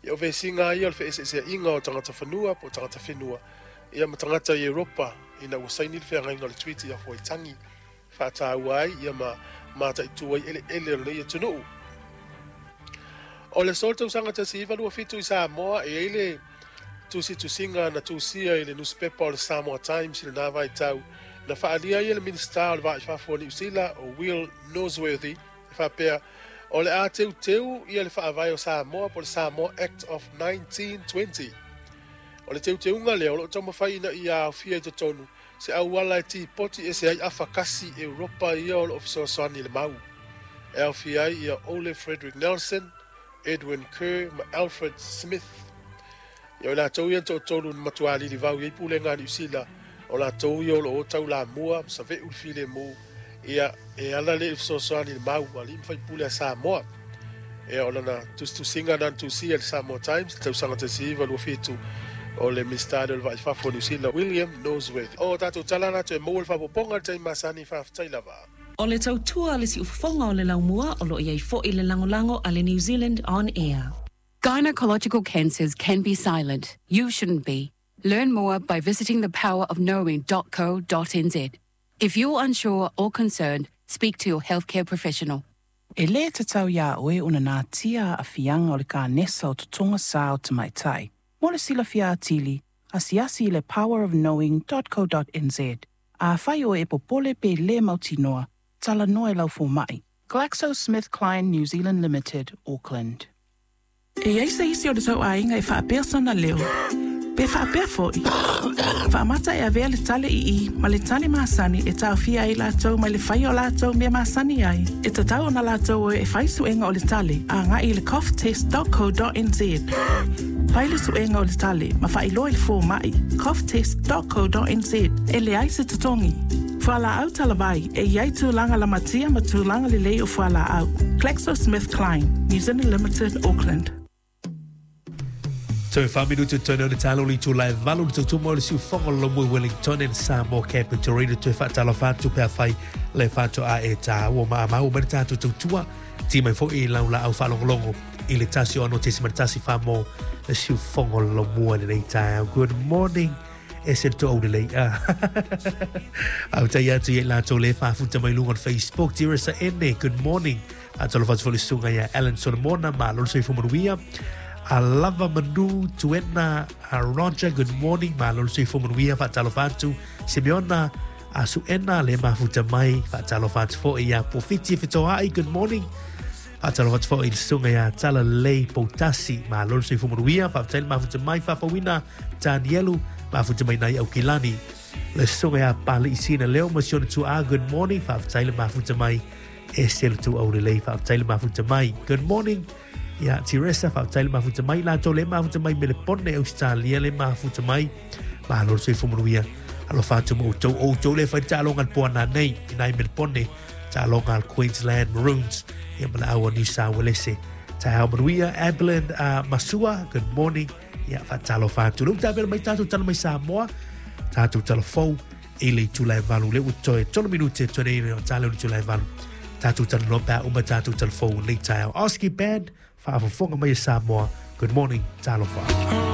Ia, o vesiga lava ia o le feeseeseaiga o tagata fanua po o tagata whenua, ia ma tagata i Europa ina ua saini le feagaiga o le Treaty of Waitangi, faataua ai ia ma mataitu ai eleele o lenei atunuu. O le aso o le tausaga 1927 i Samoa, e i ai le tusitusiga na tusia i le nusipepa o le Samoa Times i lena vaitau, na faaalia ai e le Minisita o le Va i Fafo o Niu Sila, o Will Norsworthy, e faapea, O le a teuteu ia le Faavae o Samoa po o le Samoa Act of 1920. O le teuteuga lea o lo o taumafai ina ia aofia i totonu se auala e tipoti ese ai afa kasi Europa ia o lo o fesoasoani i le mau, e aofia ai ia Ole Frederick Nelson, Edwin Kerr ma Alfred Smith. Ia o i latou ia na toatolu na matua lilivau i ai pulega a Niu Sila, o latou ia o lo o taulamua ma save'u le filemu, ia e ala lea i le fesoasoani i le mau a alii ma faipule a Samoa. Ia o lana tusitusiga na na tusia i le Samoa Times i le tausaga 1927, o le Minisita lea o le Vaa i Fafo o Niu Sila, William Norsworthy. O tatou tala na toe maua le faaopoopoga i le taimi masani, faafetai lava. O le tautua a le siufofoga o le laumua o lo o i ai foi le lagolago a le New Zealand On Air. Gynecological cancers can be silent. You shouldn't be. Learn more by visiting thepowerofknowing.co.nz. If you're unsure or concerned, speak to your healthcare professional. E lē tatau iā oe ona natia aafiaga o le kanesa o totoga sā o tamaitai. Mo le silafia atili, asiasi i le powerofknowing.co.nz. Afai oe e popole pe lē mautinoa, talanoa i lau fomaʻi. GlaxoSmithKline New Zealand Limited, Auckland. E i ai se isi o le tou aiga e faapea sona leo? Pe faapea foi? Faamata e avea le tale ii ma le tale masani e taofia ai latou mai le faia o latou mea masani ai. E tatau ona latou o e fai suega o le tale agai i le coughtest.co.nz. Fai le suega o le tale ma faailoa i le fomai coughtest.co.nz. E leai se totogi. Fualaau talavai, e i ai tulaga lamatia ma tulaga lelei o fualaau. GlaxoSmithKline, New Zealand Limited, Auckland. Toe 4 minuti toe o le talo le itula e 8 le tautuma o le siufogo lo mui Wellington and Samoa Capital Radio toe faatalofa atu pe afai le faatoa e tāua ma amau mai le tātou tautua ti mai foi i lau laau faalogologo i le 106.1 wha le siufogo lo mua lenei taeao. Good morning e se to le lei a. Au tai atu i latou le faafuta mai luga o le Facebook. Tirisa Ene, good morning. Atalofa atu foi le susuga ia Alan Solomona, malo le soifua manuia. A lava manu tuena a Roger, good morning, malo le soifua manuia, faatalofa atu. Simeona a Suena le mafuta mai, faatalofa atu foi ia Pofiti Fetoai, good morning. Faatalofa atu foi i le susuga ia Tala Lelei Poutasi, malo le soifua manuia, faafetai le mafuta mai, faafauina Danielu, mafuta mai nai Aukilani. Le susuga ia Pali Sina Leo ma si ona tuaa, good morning, faafetai le mafuta mai e se le tu au lelei, faafetai le mafuta mai. Good morning. Ia, Teresa, faafetai le mafuta mai. Latou le mafuta mai Melepone, Australia le mafuta mai. Malo le soifua manuia. Alofa atu ma outou. O outou le fai taaloga le poana nei, i nai Melepone, taaloga al Queensland Maroons, ia ma le au a New South Wales. Taeao manuia, Abilene Masua, good morning. Ia, faatalofa atu. Le utapela mai tātou tala mai Samoa, tātou tala fou, i le itula e 8. Le ua toe 3 minute toe nei o tale o le itula e 8. Tātou tala no pā uma tātou tala fou lei taeao. Oski Band, faafofoga mai e Samoa. Good morning, talofa.